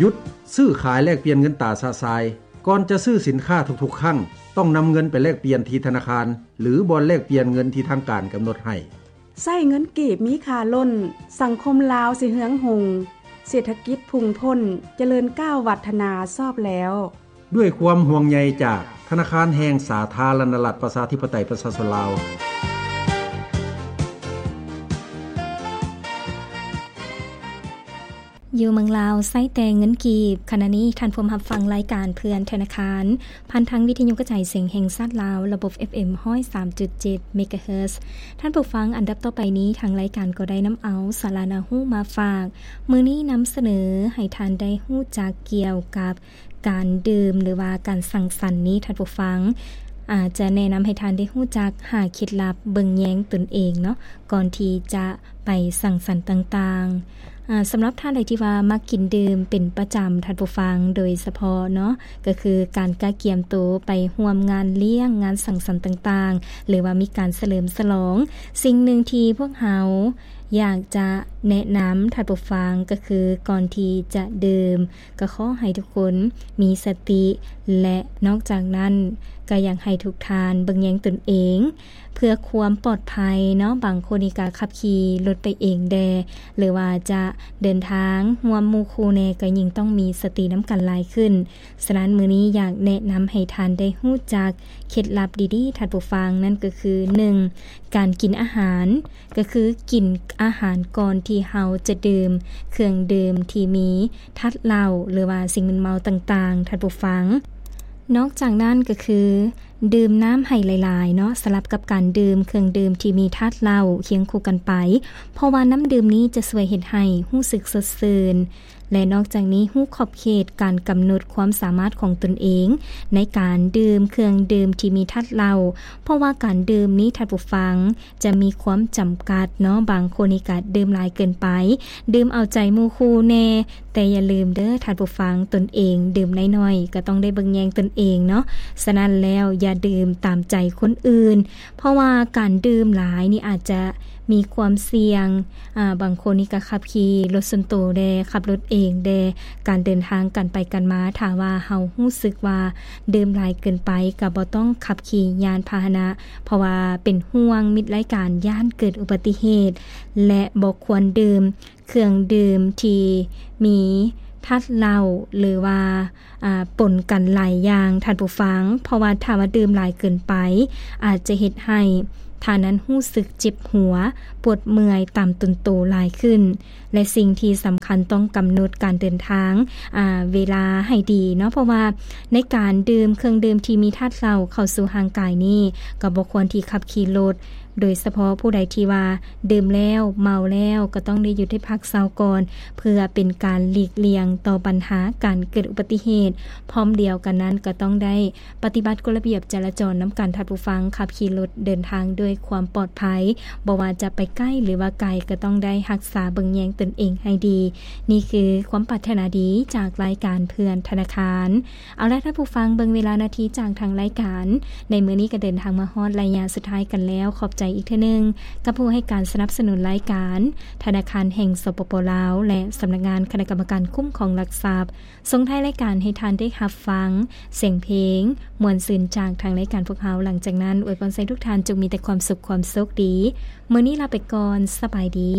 ຢຸດຊື້ຂາຍແລກປ່ຽນເງິນຕາຊະຊາຍ. ກ່ອນຈະຊື້ສິນຄ້າທຸກໆຄັ້ງ, ຕ້ອງນຳເງິນໄປແລກປ່ຽນທີ່ທະນາຄານ ຫຼື ບ່ອນແລກປ່ຽນເງິນທີ່ທາງການກຳນົດໃຫ້. ໃຊ້ເງິນກີບມີຄ່າລົ້ນ, ສັງຄົມລາວຊິເຮືອງຮຸ່ງ, ເສດຖະກິດພຸ່ງພົ້ນ, ຈະເລີນກ້າວວັດທະນາຊອບແລ້ວ. ດ້ວຍຄວາມຫ່ວງໃຍຈາກທະນາຄານແຫ່ງສາທາລະນະລັດ ປະຊາທິປະໄຕ ປະຊາຊົນລາວ. ຢູ່ເມືອງລາວໃຊ້ແຕ່ເງິນກີບ. ຂະນະນີ້ທ່ານພວມຮັບຟັງລາຍການເພື່ອນທະນາຄານ ຜ່ານທາງວິທະຍຸກະຈາຍສຽງແຫ່ງຊາດລາວ ລະບົບ ເອັຟເອັມ ຮ້ອຍສາມຈຸດເຈັດ ເມກາເຮີດ. ທ່ານຜູ້ຟັງ, ອັນດັບຕໍ່ໄປນີ້ ທາງລາຍການກໍໄດ້ນຳເອົາສາລະໜ້າຮູ້ມາຝາກ. ມື້ນີ້ນຳສະເໜີໃຫ້ທ່ານໄດ້ຮູ້ຈັກກ່ຽວກັບ ການດື່ມ ຫຼືວ່າການສັງສັນນີ້ ທ່ານຜູ້ຟັງອາດຈະແນະນຳໃຫ້ທ່ານໄດ້ຮູ້ຈັກຫາເຄັດລັບເບິ່ງແຍງຕົນເອງເນາະ ກ່ອນທີ່ຈະໄປສັງສັນຕ່າງໆ. ອາ ສຳລັບທ່ານໃດທີ່ວ່າມັກກິນດື່ມເປັນປະຈຳ ທ່ານຜູ້ຟັງ, ໂດຍສະເພາະເນາະ ກໍຄືການກະກຽມໂຕໄປຮ່ວມງານລ້ຽງ, ງານສັງສັນຕ່າງໆ ຫຼືວ່າມີການສະເຫຼີມສະຫຼອງ, ສິ່ງໜຶ່ງທີ່ພວກເຮົາຢາກຈະແນະນຳ ທ່ານຜູ້ຟັງ ກໍຄື ກ່ອນທີ່ຈະດື່ມ ກໍຂໍໃຫ້ທຸກຄົນມີສະຕິ ແລະ ນອກຈາກນັ້ນ ກໍຢາກໃຫ້ທຸກທ່ານເບິ່ງແຍງຕົນເອງ ເພື່ອຄວາມປອດໄພເນາະ. ບາງຄົນນີ້ກໍຂັບຂີ່ລົດໄປເອງແດ່ ຫຼືວ່າຈະເດີນທາງຮ່ວມໝູ່ຄູ່ແດ່ ກໍຍິ່ງຕ້ອງມີສະຕິນຳກັນຫຼາຍຂຶ້ນ. ສະນັ້ນ ມື້ນີ້ຢາກແນະນຳໃຫ້ທ່ານໄດ້ຮູ້ຈັກເຄັດລັບດີໆ ທ່ານຜູ້ຟັງ, ນັ້ນກໍຄື ໜຶ່ງ ການກິນອາຫານ ກໍຄືກິນອາຫານກ່ອນທີ່ເຮົາຈະດື່ມເຄື່ອງດື່ມທີ່ມີທາດເຫຼົ້າ ຫຼືວ່າສິ່ງມຶນເມົາຕ່າງໆ ທ່ານຜູ້ຟັງ. ນອກຈາກນັ້ນກໍຄື ດື່ມນ້ຳໃຫ້ຫຼາຍໆເນາະ ສະຫຼັບກັບການດື່ມເຄື່ອງດື່ມທີ່ມີທາດເຫຼົ້າຄຽງຄູ່ກັນໄປ, ເພາະວ່ານ້ຳດື່ມນີ້ຈະຊ່ວຍເຮັດໃຫ້ຮູ້ສຶກສົດຊື່ນ. ແລະ ນອກຈາກນີ້ ຮູ້ຂອບເຂດການກຳນົດຄວາມສາມາດຂອງຕົນເອງໃນການດື່ມເຄື່ອງດື່ມທີ່ມີທາດເຫຼົ້າ, ເພາະວ່າການດື່ມນີ້ ທ່ານຜູ້ຟັງ, ຈະມີຄວາມຈຳກັດເນາະ. ບາງຄົນນີ້ກະດື່ມຫຼາຍເກີນໄປ, ດື່ມເອົາໃຈໝູ່ຄູ່ແດ່, ແຕ່ຢ່າລືມເດີທ່ານຜູ້ຟັງ, ຕົນເອງດື່ມນ້ອຍໆ ກໍຕ້ອງໄດ້ເບິ່ງແຍງຕົນເອງເນາະ. ສະນັ້ນແລ້ວ ຢ່າດື່ມຕາມໃຈຄົນອື່ນ, ເພາະວ່າການດື່ມຫຼາຍນີ້ອາດຈະມີຄວາມສ່ຽງ. ອາ ບາງຄົນນີ້ກໍຂັບຂີ່ລົດສ່ວນໂຕແດ່, ຂັບລົດເອງແດ່, ການເດີນທາງ ການໄປການມາ, ຖ້າວ່າເຮົາຮູ້ສຶກວ່າດື່ມຫຼາຍເກີນໄປ ກໍບໍ່ຕ້ອງຂັບຂີ່ຍານພາຫະນະ, ເພາະວ່າເປັນຫ່ວງມິດໄລການ ຢ້ານເກີດອຸບັດຕິເຫດ ແລະ ບໍ່ຄວນດື່ມເຄື່ອງດື່ມທີ່ມີທາດເຫຼົ້າ ຫຼືວ່າ ອາ ປົນກັນຫຼາຍຢ່າງ ທ່ານຜູ້ຟັງ, ເພາະວ່າຖ້າວ່າດື່ມຫຼາຍເກີນໄປ ອາດຈະເຮັດໃຫ້ທ່ານນັ້ນຮູ້ສຶກເຈັບຫົວ, ປວດເມື່ອຍຕາມຕົນໂຕຫຼາຍຂຶ້ນ. ແລະ ສິ່ງທີ່ສຳຄັນ ຕ້ອງກຳນົດການເດີນທາງ ອາ ເວລາໃຫ້ດີເນາະ, ເພາະວ່າໃນການດື່ມເຄື່ອງດື່ມທີ່ມີທາດເຫຼົ້າເຂົ້າສູ່ຮ່າງກາຍນີ້ ກໍບໍ່ຄວນທີ່ຂັບຂີ່ລົດ, ໂດຍສະເພາະຜູ້ໃດທີ່ວ່າດື່ມແລ້ວເມົາແລ້ວ ກໍຕ້ອງໄດ້ຢຸດໄດ້ພັກເຊົາກ່ອນ ເພື່ອເປັນການຫຼີກລ່ຽງຕໍ່ບັນຫາການເກີດອຸບັດຕິເຫດ. ພ້ອມດຽວກັນນັ້ນ ກໍຕ້ອງໄດ້ ປະຕິບັດກົດລະບຽບຈະລາຈອນນຳກັນ ທ່ານຜູ້ຟັງ, ຂັບຂີ່ລົດເດີນທາງດ້ວຍຄວາມປອດໄພ, ບໍ່ວ່າຈະໄປໃກ້ ຫຼືວ່າໄກ ກໍຕ້ອງໄດ້ຮັກສາເບິ່ງແຍງຕົນເອງໃຫ້ດີ. ນີ້ຄືຄວາມປາດຖະໜາດີຈາກລາຍການເພື່ອນທະນາຄານ. ເອົາລະ ທ່ານຜູ້ຟັງ, ເບິ່ງເວລານາທີຈາກທາງລາຍການ ໃນມື້ນີ້ກໍເດີນທາງມາຮອດໄລຍະສຸດທ້າຍກັນແລ້ວ. ຂອບໃຈອີກເທື່ອໜຶ່ງກັບຜູ້ໃຫ້ການສະໜັບສະໜູນລາຍການ ທະນາຄານແຫ່ງ ສປປ ລາວ ແລະ ສຳນັກງານຄະນະກຳມະການຄຸ້ມຄອງຫຼັກຊັບ. ສົ່ງທ້າຍລາຍການໃຫ້ທ່ານໄດ້ຮັບຟັງສຽງເພງມ່ວນຊື່ນຈາກທາງລາຍການພວກເຮົາ. ຫຼັງຈາກນັ້ນ ອວຍພອນໃຫ້ທຸກທ່ານຈົ່ງມີແຕ່ຄວາມສຸກຄວາມໂຊກດີ. ມື້ນີ້ລາໄປກ່ອນ, ສະບາຍດີ.